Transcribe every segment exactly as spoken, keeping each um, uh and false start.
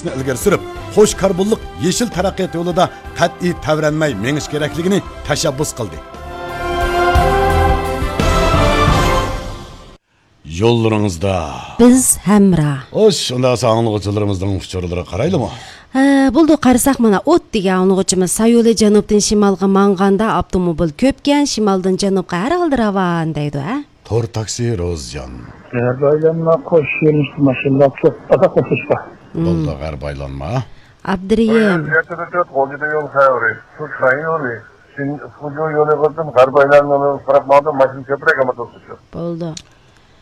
ئىلگىرى سۈرۈپ، قوش كاربونلۇق يېشىل تەرەققىيات يولىدا قەتئىي تەۋرەنمەي مېڭىش كېرەكلىكىنى تەشەببۇس قىلدى. يوللىرىڭىزدا بىز ھەمراھ. خوش، ئۇنداق بولسا ئاڭلىغۇچىلىرىمىزنىڭ ئۇچۇرلىرىغا قارايلىمۇ؟ ھە، بولدى، قارىساق مانا، ئوت دېگەن ئاڭلىغۇچىمىز سايولى جەنۇبتىن شىمالغا ماڭغاندا ئاپتوموبىل كۆپكەن، شىمالدىن جەنۇبقا ھەر ھالدا راۋان دەيدۇ، ھە؟ تور تاكسى روزجان. غەربىي ئايلانما قوش يۆنىلىشتە ماشىنىلار كۆپ، ئازراق قوشۇلۇشقا. بولدى، غەربىي ئايلانما. ئابدۇرېھىم. يەتتە تۆت غوجىدا يول خەۋىرى. شۇ شاھىن يولى. شىن-، فۇجۇ يولى قىلدىم، غەربىي ئايلانما يولىغا قاراپ ماڭدىم، ماشىنا كۆپرەك ئەمەس ئوخشىشى. بولدى.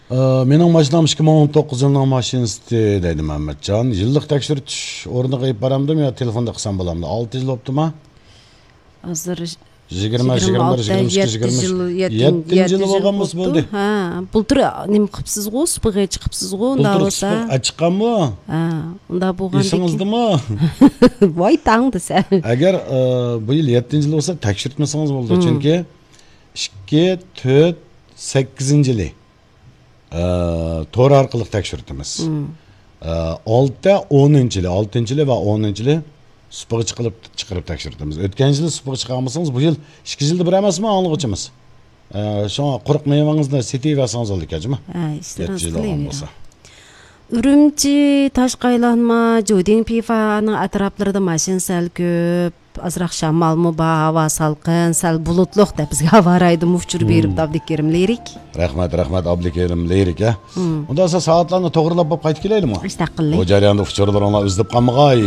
ئى، مېنىڭ ماشىنام ئىككى مىڭ ئون توققۇز يىلىنىڭ ماشىنىسى دەيدۇ مەمەتجان. يىللىق تەكشۈرتۈش ئورنىغا ئېلىپ بارامدىم يا تېلېفوندا قىلسام بولامدۇ؟ ئالتە يىل بوپتۇما؟ ھازىر يىگىرمە، يىگىرمە بىر، يىگىرمە ئىككى، يىگىرمە ئۈچ، يەتتىنچى يىل، يەتتىنچى يىل بولغان بولسا بولدى. ھە، بۇلتۇر نېمە قىپسىزغۇ، سۇپىغا چىقىپسىزغۇ، ئۇنداق بولسا. سۇپىغا چىققانمۇ؟ ھە، ئۇنداق بولغاندىكىن. ئېسىڭىزدىمۇ؟ ۋاي تاڭ دېسە. ئەگەر، ئى، بۇ يىل يەتتىنچى يىل بولسا تەكشۈرتمىسىڭىز بولىدۇ. چۈنكى ئىككى، تۆت، سەككىزىنچى يىلى. ئە، تور ئارقىلىق تەكشۈرتىمىز. ئە، ئالتە، ئونىنچى يىلى، ئالتىنچى يىلى ۋە ئونىنچى يىلى سۇپىغا چىقىرىپ، چىقىرىپ تەكشۈرتىمىز. ئۆتكەن يىلى سۇپىغا چىقارمىسىڭىز، بۇ يىل ئىككى يىلدا بىر ئەمەسمۇ ئاڭلىغۇچىمىز؟ ئە، شۇڭا قۇرۇق مېۋىڭىزنى سېتىۋەرسىڭىز بولىدىكەن جۇمۇ. ھە، ئىشلىرىڭىز يەتتە يىل بولغان قىلىۋېرىڭ. بولسا. ئۈرۈمچى، تاشقى ئايلانما، جۇدىڭ پىفانىڭ ئەتراپلىرىدا ماشىنا سەل كۆپ. ئازراق شامالمۇ بار، ھاۋا سالقىن، سەل بۇلۇتلۇق دەپ بىزگە ھاۋا رايىدىن ئۇچۇر بېرىپتۇ ئابدۇكېرىم لىرىك. رەھمەت، رەھمەت، ئابدۇكېرىم لىرىك، ھە. ئۇنداق بولسا سائەتلەرنى توغرىلاپ بولۇپ قايتىپ كېلەيلىمۇ؟ ئىشتاق قىلدى. بۇ جەرياندا ئۇچۇرلىرىڭلار ئۈزۈلۈپ قالمىغاي.